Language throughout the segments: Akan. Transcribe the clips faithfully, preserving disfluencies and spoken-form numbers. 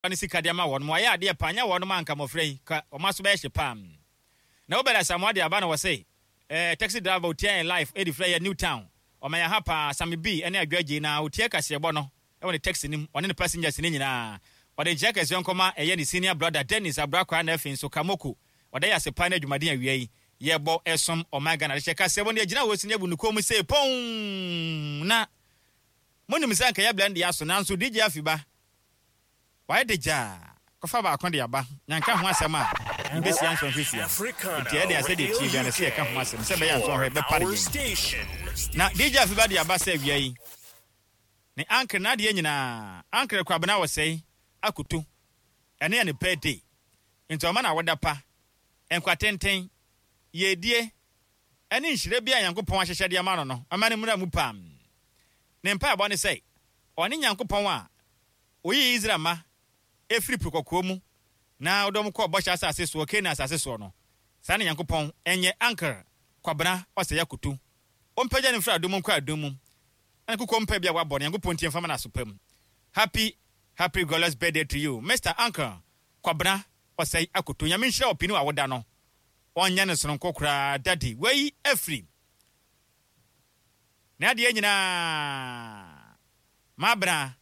Ne sika de ama wɔn mo ayɛ adeɛ pa nyɛ wɔn anka mmɔfra yi ka wɔn aso bɛyɛ hye pam. Na wobɛda Asamoah de aba na wɔse eh, taxi driver otia yɛn live ɛdi frɛ yɛ New Town ɔma yɛn ha paa. Sami B ɛne Adwa Gye na otia kaseɛbɔ no ɛwɔ ne taxi nim, ɔne ne passengers ne nyinaa. Ɔde nkyerɛ kɛseɛ nkɔma ɛyɛ ne senior brother Dennis Abrakwa, na afei nso Kamoko ɔda yɛ ase paa ne adwumaden awia yi yɛbɔ ɛsom ɔman Ghana de hyɛ kaseɛbɔ no yɛgyina hɔ si ne abu ne kɔn mu sɛ pɔn. Na monim sɛ nka yɛ blend aso, nanso D J Afiba wayɛ de gyaa kɔfa baako de aba nyanka ho asɛm a yɛbɛsia nsɔnhwɛ sia, nti ɛde asɛ deɛ tie bia no sɛ yɛka ho asɛm sɛ ɛbɛyɛ nsɔnhwɛ bɛpare yɛn. Na D J Afiba de aba sɛ awia yi ne ankere n'adeɛ nyinaa ankere Kwabena Wɔsɛe Akoto ɛne yɛ ne birthday, nti ɔma na awoda pa, nkwa tenten, yɛdie ɛne nhyira bi a Nyankopɔn ahyehyɛ de ama no no ɔma no mmra mu pam. Ne mpaebɔ ne sɛ ɔne Nyankopɔn a oyii Israel ma efiri Po Kɔkɔɔ mu na ɔde wɔn kɔɔ bɔhyɛ asase soɔ, Canaan asase soɔ no, saa ne Nyankopɔn ɛnyɛ ankere Kwabena Ɔsɛe Akoto, ɔmpagya ne mfiri adom nkɔ adom mu na ne kokɔ mpa bi a wabɔ no Nyankopɔn ntie mfama no aso pa mu. Happy, happy glorious birthday to you, Mister Uncle Kwabena Ɔsɛe Akoto. Nyame nhyira ɔpini a woda no, ɔnyɛ no sononko koraa. Daddy wei afiri na adeɛ nyinaa mabena,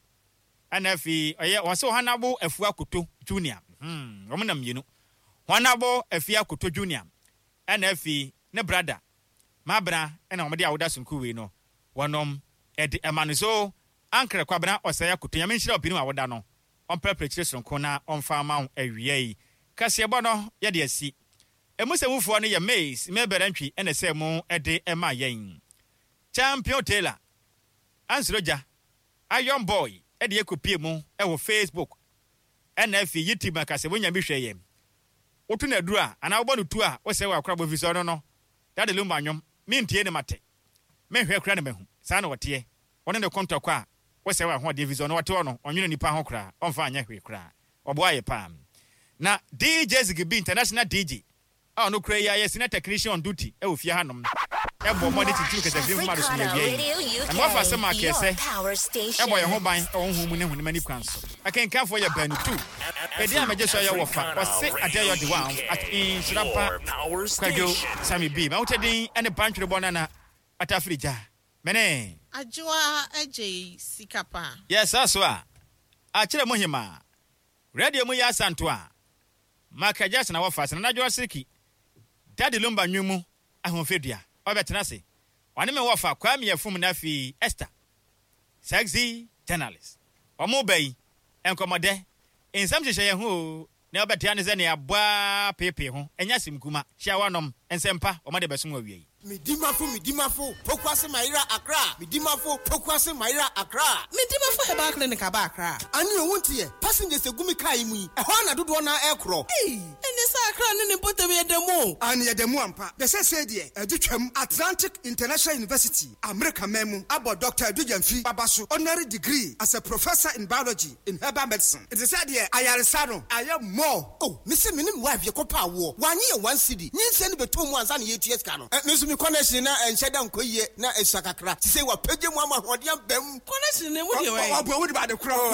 ɛna afei ɔyɛ wɔn sɛ Ɔhanabo Afua Akoto Junior. hmm wɔn nam mmienu, Ɔhanabo Afua Akoto Junior ɛna afei ne brother mabena, ɛna wɔn de awoda sononko wei no wɔnom ɛde ɛma no. So Ankara Kwabena Ɔsɛe Akoto, Nyame nhyira ɔpini a woda no, ɔmprɛprɛ kyerɛ sononko na ɔmfa ama wo. Awia yi kaseɛbɔ no yɛde asi emu sɛ mufoɔ no yɛ maize mɛbɛrɛ ntwi, ɛna sɛ mu ɛde ɛma yɛn Champion Taylor Ansoro Gya Iron Boy ɛde ɛkɔpie mu ɛwɔ Facebook ɛna afei YouTube. Akasɛ wonya bi hwɛ yɛn, woto no aduru a anaa wobɔ no tu a wosɛ wɔ akorabɔ fi sɛ ɔno no Daddy Lumba nwom mentie ne mate menhwɛ kora ne mahu saa na wɔteɛ. Ɔne ne kɔntɔkɔ a wosɛ wɔ ahoɔden fi sɛ ɔno wɔte hɔ no ɔnwene nipa ho koraa, ɔmfa anyɛ hwee koraa, ɔboa yɛ paa. Na D J Zigibi, international D J a ɔno kura yi ayɛ senior technician on duty ɛwɔ fie hanom, ɛbɔ mmɔde titiri kɛsɛfiri nhoma do so ne awia yi na mewɔfa asɛm akɛsɛ ɛbɔ yɛn ho ban ɛwɔ honhom mu ne honam ani kwan so. Akenkanfoɔ yɛ baanu tu ɛdi a mɛgye so ɛyɛ wɔfa ɔse adeɛ yɛ ɔde wa at nhyira pa Kwadwo Sami B ma wotɛ din ɛne bantwere bɔ nana atafiri gya mene Adwoa Agye Sika Pa. Yɛ saa so a akyerɛ mu hema radio mu yɛ asanto a Michael Jackson a wɔfa sɛ Nana Seriki Daddy Lumba nwom mu ahoɔfɛdua ɔbɛtena ase ɔne me wɔfa Kwame Afum na afei Esther sexy journalist ɔmo ba yi nkɔmmɔdɛ nsɛm hyehyɛ yɛn ho o na ɔbɛtea ne sɛ nea aboa peepee ho ɛnyɛ asɛm kuma hyia wanom nsɛmpa ɔmo de bɛsom awia yi. Midimafo, Midimafo, Pokuase Mayera Accra. Midimafo, Pokuase Mayera Accra. Medimafo Herbal Clinic aba Accra. Ane owu nti yɛ passengers egu mi kaa yi mu yi ɛhɔ ana dodoɔ na ɛkorɔ. Ei, ɛne sɛ Accra ne ne mpɔtam yɛ dɛm o. Ane yɛ dɛm ampa de sɛ sɛ deɛ ɛde twam Atlantic International University, America man mu, abɔ Doctor Adu Gyamfi baba so honorary degree as a professor in biology in herbal medicine. Nti sɛ deɛ ayaresa no ayɛ more. Oh, mesi me ne me wife yɛ kɔpa awoɔ wanye yɛ one cedi nyinsɛn no bɛtɔ mu ansa na yɛtua sika no. Ɛ, me nso me connection na ɛnhyɛ da nkɔ yie na ɛsua kakra te sɛ wapagye mu ama ahoɔden aba mu. Connection ne mu deɛ wɔyɛ. Ɔbɔ wo de ba de korɔ.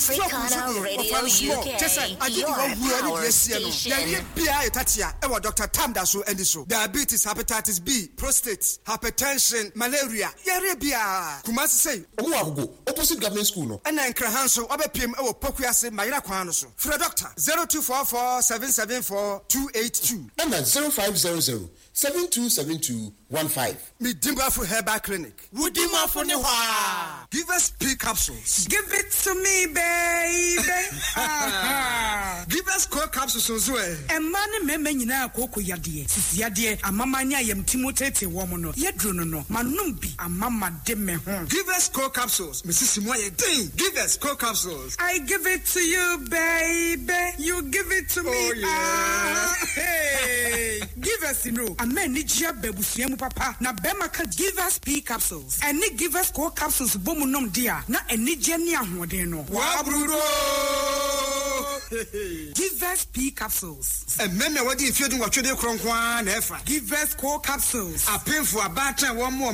Africana Radio U K, kyɛ sɛ agye de your wawura ne power deɛ sie no station. Yɛyɛ biara yɛ tatea ɛwɔ Doctor Tam da so ani so diabetes, hepatitis B, prostate, hypertension, malaria, yɛre biara Kumasi sei. Ɔmo wɔ Agogo, opposite government school no. Ɛna Nkraha nso wabɛpiem ɛwɔ Pokuase Mayera kwan no so. Frɛ doctor zero two four four seven seven four two eight two. Ɛna zero five zero zero seven two seven two one five. Medimafo Herbal Clinic. Wodimafo ne hɔ a. Give us P capsules. Give it to me, baby. Ah. Give us Co capsules nso ɛ. Mmaa ne mmarima nyinaa kooko yadeɛ, sisi yadeɛ, amama ne ayamti mu tete wɔn no, yɛduro no no, manom bi amama de me ho. Give us Co capsules, mesisi mu ayɛ den. Give us Co capsules. I give it to you, baby. You give it to me. Oh, yeah. Ah, hey. Give us no. Ama anigye aba abusua mu papa na bɛrima ka Give Us P capsules ɛne Give Us Co capsules bɔ mu nom de a na anigye ne ahoɔden no. Wabrudo. Give Us P capsules. Mmarima a wɔde mfeɛ du nwɔtwe de korɔ nko ara na ɛfa. Give Us Co capsules. Apemfo, abaatan, wɔn mo.